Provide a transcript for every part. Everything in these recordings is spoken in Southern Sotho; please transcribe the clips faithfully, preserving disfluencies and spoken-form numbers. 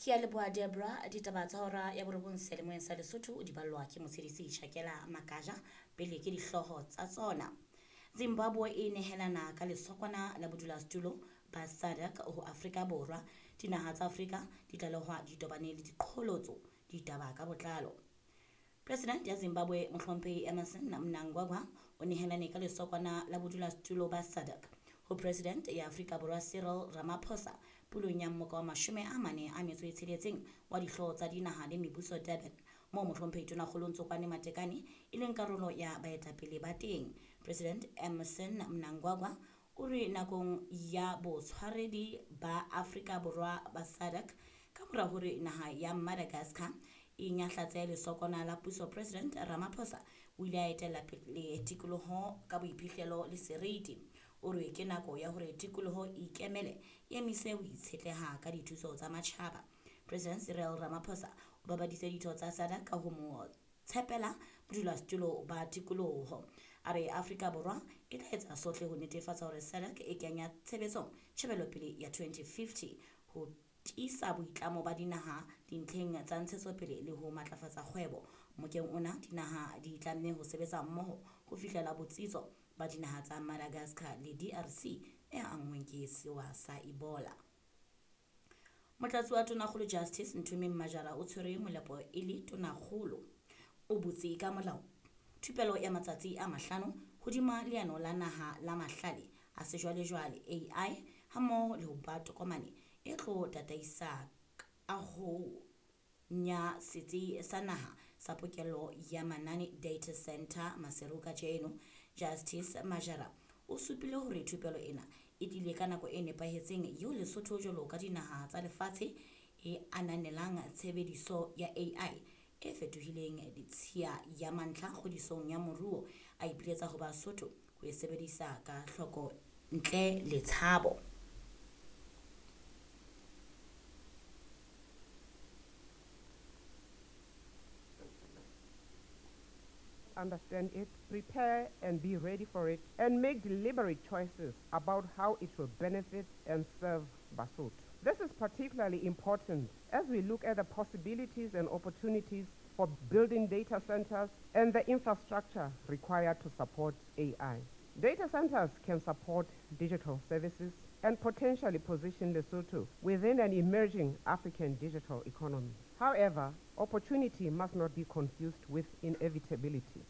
Ke a leboha Debra. Ditaba tsa hora ya borobong seyalemoyeng sa Lesotho di ballwa ke motshedisi Shakela Makaja. Pele ke dihlooho tsa tsona. Zimbabwe e nehelana ka lesokwana la bodulasetulo ba SADC ho Afrika Borwa. Dinaha tsa Afrika di tlalehwa di tobane le diqholotso. Ditaba ka botlalo. President ya Zimbabwe Mohlomphehi Emmerson Mnangagwa o nehelane ka lesokwana la bodulasetulo ba SADC ho President ya Afrika Borwa Cyril Ramaphosa pulong ya mmoka wa mashome a mane a metso e tsheletseng wa dihlooho tsa dinaha le mebuso Durban, moo Mohlomphehi Tonakgolo Ntsokoane Matekane e leng karolo ya baetapele ba teng. President Emmerson Mnangagwa o re nakong ya botshwaredi ba Afrika Borwa ba SADC ka mora hore naha ya Madagascar e nyahlatse lesokwana la puso, President Ramaphosa o ile a etella pele tikoloho ka boiphihlelo le seriti. O re ke nako ya hore tikoloho e ikemele, e emise ho itshetleha ka dithuso tsa matjhaba. President Cyril Ramaphosa o babaditse ditho tsa SADC ka ho mo tshepela bodulasetulo ba tikoloho. A re Afrika Borwa e tla etsa sohle ho netefatsa hore SADC e kenya tshebetsong tjhebelopele ya twenty fifty ho tiisa boitlamo ba dinaha dintlheng tsa ntshetsopele le ho matlafatsa kgwebo. Mokeng ona dinaha di tlamme ho sebetsa mmoho ho fihlela botsitso ba dinaha tsa Madagascar le D R C e anngweng ke sewa sa Ebola. Motlatsi wa Tonakgolo Justice Nthomeng Majara o tshwere molepo e le Tonakgolo. O butse ka molao thupelo ya matsatsi a mahlano hodima leano la naha la mahlale a sejwalejwale A I hammoho le ho ba tokomane e tlo tataisa kaho ya setsi sa naha sa pokello ya manane data center Maseru kajeno. Justice Majara o supile hore thupelo ena e tlile ka nako e nepahetseng eo Lesotho jwalo ka dinaha tsa lefatshe e ananelang tshebediso ya A I e fetohileng ditshiya ya mantlha kgodisong ya moruo. A ipiletsa ho Basotho ho e sebedisa ka hloko ntle le tshabo. Understand it, prepare and be ready for it, and make deliberate choices about how it will benefit and serve Basotho. This is particularly important as we look at the possibilities and opportunities for building data centers and the infrastructure required to support A I. Data centers can support digital services and potentially position Lesotho within an emerging African digital economy. However, opportunity must not be confused with inevitability.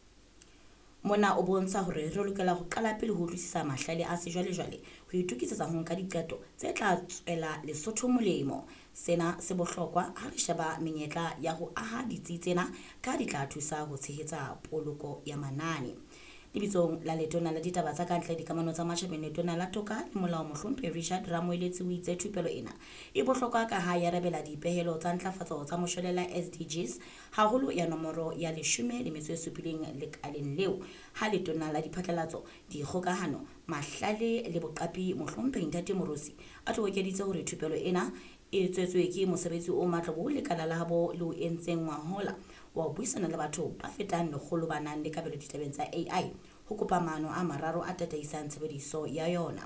Mona o bontsha hore re lokela ho qala pele ho utlwisisa mahlale a sejwalejwale ho itokisetsa ho nka diqeto tse tla tswela Lesotho molemo. Sena se bohlokwa ha re sheba menyetla ya ho aha ditsi tsena ka di tla thusa ho tshehetsa poloko ya manane. Lebitsong la Letona la Ditaba tsa Kantle Dikamano tsa Matjhabeng, Letona la Toka le Molao Mohlomphehi Richard Ramoeletsi o itse thupelo ena e bohlokwa ka ha e arabela dipehelo tsa ntlafatso tsa moshwelella S D Gs, haholo ya nomoro ya leshome le metso e supileng lekaleng leo. Ha Letona la Diphatlalatso, Dikgokahano, Mahlale le Boqapi Mohlomphehi Ntate Moorosi a tobokeditse hore thupelo ena e tswetswe ke mosebetsi o matla bo lekala la habo le o entseng ngwahola wa ho buisana le batho ba fetang lekgolo ba nang le kabelo ditabeng tsa A I ho kopa maano a mararo a tataisang tshebediso ya yona.